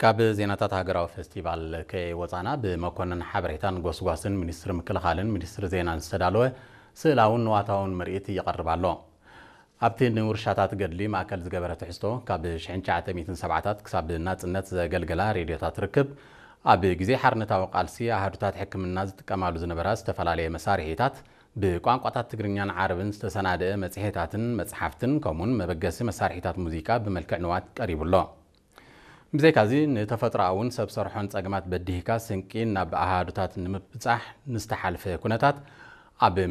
ካብ ዜናታት ሃገራዊ ፌስቲቫል ከይወጻና፣ ብመኮንን ሓበሬታን ጎስጓስን ሚኒስትሪ ምክልኻልን ሚኒስትሪ ዜናን ዝተዳለወ ስእላውን ንዋታውን ምርኢት ይቐርብ ኣሎ። ኣብቲ ንውርሻታት ገድሊ ማእከል ዝገበረ ትሕዝቶ፣ ካብ ሽሕን ትሽዓተ ሚእትን ሰብዓታት ክሳብ ናጽነት ዘገልገላ ሬድዮታት ርክብ፣ ኣብ ግዜ ሓርነታዊ ቃልሲ ኣሃዱታት ሕክምና ዝጥቀማሉ ዝነበራ ዝተፈላለየ መሳርሒታት፣ ብቋንቋታት ትግርኛን ዓረብን ዝተሰናደአ መጽሔታትን መጽሓፍትን፣ ከምኡውን መበገሲ መሳርሒታት ሙዚቃ ብመልክዕ ንዋት ቀሪቡ ኣሎ። ብዘይካዚ፣ ንተፈጥሮኣውን ሰብ ሰርሖን ጸገማት በዲህካ ስንቂ ናብ ኣሃዱታት ንምብጻሕ ንዝተሓልፈ ኩነታት ኣብ